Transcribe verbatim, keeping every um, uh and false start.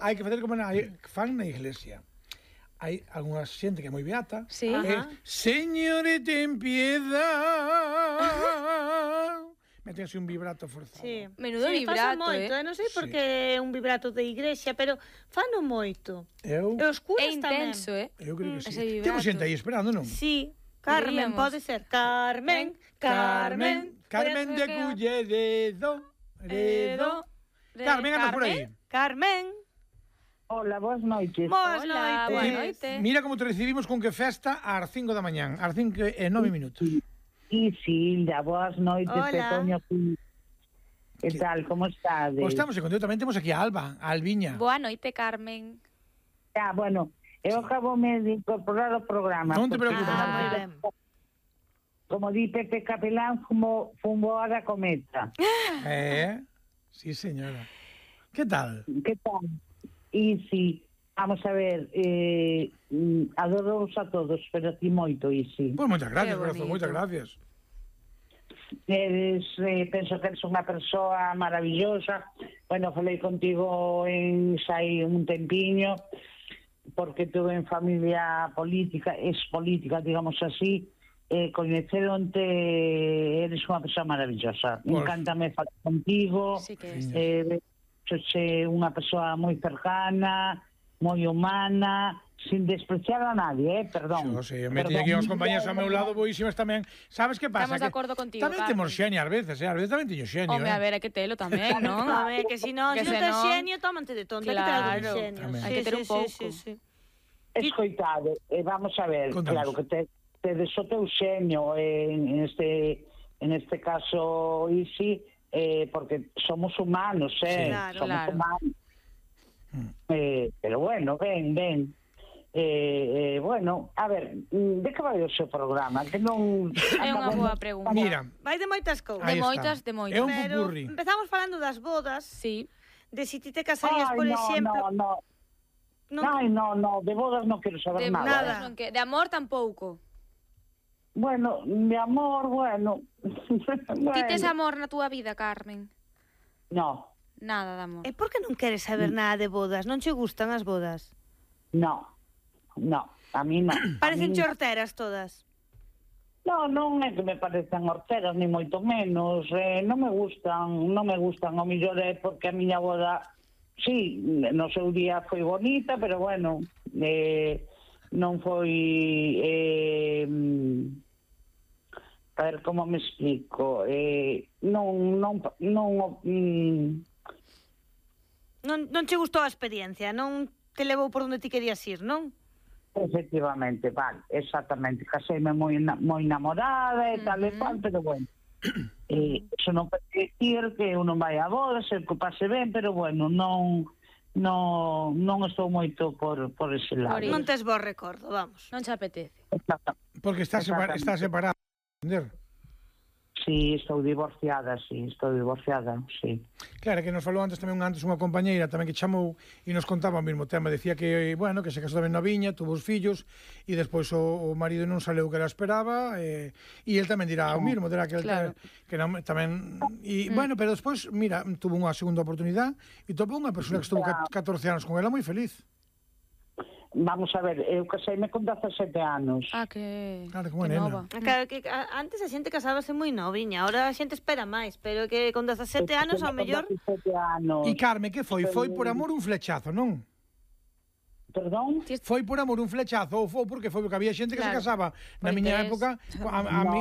hai que facer como na, que fan na iglesia. Hai algunha xente que é moi beata. Sí. É, Señore, ten piedad. Meten así un vibrato forzado. Sí. Menudo sí, vibrato, moito, eh. Non sei por Sí. que é un vibrato de igrexa, pero fano moito. Eu, E os curas É intenso, tamén. eh? eu creo que ese sí. vibrato. Temos xente aí esperando, non? Sí. Carmen, Diríamos. pode ser. Carmen, Carmen. Carmen de Culleredo. Redo. Carmen, andas por aí. Carmen. Hola, boas noites. Boas Hola, noites. boa noite. Mira como te recibimos con que festa ás cinco da mañán, ás cinco e nove minutos. E Silda, boas noites, Hola. Petoño. Que tal, como estades? Pois estamos en contento, tamén temos aquí a Alba, a Albiña. Boa noite, Carmen. Ah, bueno, eu acabo de incorporar ao programa. Non te porque, preocupes. Ah, como- moi ben. Como di Pepe Capelán, fumo, fumo a da cometa. Eh, sí señora. Que tal? Que tal? E si, vamos a ver, eh, mm, adoros a todos, pero a ti moito, e si. Pois moitas gracias, Que corazón, bonito. moitas gracias. Eres, eh, penso que eres unha persoa maravillosa. Bueno, falei contigo en sai un tempiño, porque tuve en familia política, es política, digamos así, eh, coñeceronte, eres unha persoa maravillosa. Pues, Encántame falar contigo, Sí que é. eh, soche unha persoa moi cercana, moi humana, sin despreciar a nadie, eh, perdón. Xo, sei, me teño aquí os compañeros ao meu lado boísimas tamén. Sabes que pasa? Estamos de Que acordo contigo, Tamén Carmen. temos xenio ás veces, eh? Ás veces tamén teño xenio, Home, eh? a ver, hai que telo tamén, non? A ver, que si non, Que se non se tes non- xenio, tómante de tonto, hai que ter algo de Claro, xenio. tamén. Sí, Hai que ter sí, un sí, pouco. sí, sí. Escoitade, eh, vamos a ver, Contanos. claro que te, tedes o teu xenio eh, en este en este caso Isi, eh, porque somos humanos, Sí, eh, claro, somos claro. humanos. Eh, pero bueno, ven, ven. Eh, eh, bueno, a ver, mm, de que vai o seu programa? Que non É unha boa pregunta. Mira, Vai de moitas cousas. aí De está. moitas, de moitas. É un Pero pupurri. empezamos falando das bodas, Sí. de si ti te casarías, Ai, por no, exemplo. no, no. Non- Ai, no, no, de bodas non quero De saber nada. nada. bodas non que, de amor tampouco. Bueno, mi amor, bueno. bueno. Ti tes amor na túa vida, Carmen? No, Nada de amor. E por que non queres saber nada de bodas? Non che gustan as bodas? no, no, a mí no. Parecen A mí- chorteras todas. No, non é que me parecen horteras, ni moito menos. Eh, non me gustan, non me gustan. O mellor é porque a miña boda, sí, no seu día foi bonita, pero bueno, eh, non foi... Eh, a ver, como me explico? Eh, non, non, non, mm, Non, non che gustou a experiencia, non te levou por onde ti querías ir, non? efectivamente, vale, exactamente. Caseime moi, na- moi namorada e tal e cual, pero bueno. Eh, eso non quer dicir que uno vai a boda, se que pase ben, pero bueno, non non non estou moito por por ese lado. Por ir. Non tes bo recordo, vamos. Non che apetece. Exactamente. Porque está, separa, Exactamente. está separado, entender? Sí, estou divorciada, sí, estou divorciada, sí. Claro, que nos falou antes tamén antes unha compañeira tamén que chamou e nos contaba o mesmo tema, decía que, bueno, que se casou tamén na viña, tuvo os fillos e despois o, o marido non saleu o que ela esperaba e, e el tamén dirá o mesmo, dirá que el Claro. que non, tamén e bueno, pero despois, mira, tuvo unha segunda oportunidade e topou unha persona que estuvo ca- catorce anos con ela moi feliz. Vamos a ver, eu caseime con dezasete anos. Ah, que, Claro, como que nena. nova. Claro que a- antes a xente casábase moi noviña, ahora a xente espera máis, pero que con dezasete anos ao mellor Con dezasete anos. E Carme, que foi? Foi por amor un flechazo, non? Perdón? Foi por amor un flechazo ou foi porque foi porque había xente que Claro. se casaba na Pois miña tes- época a, a, No. mi,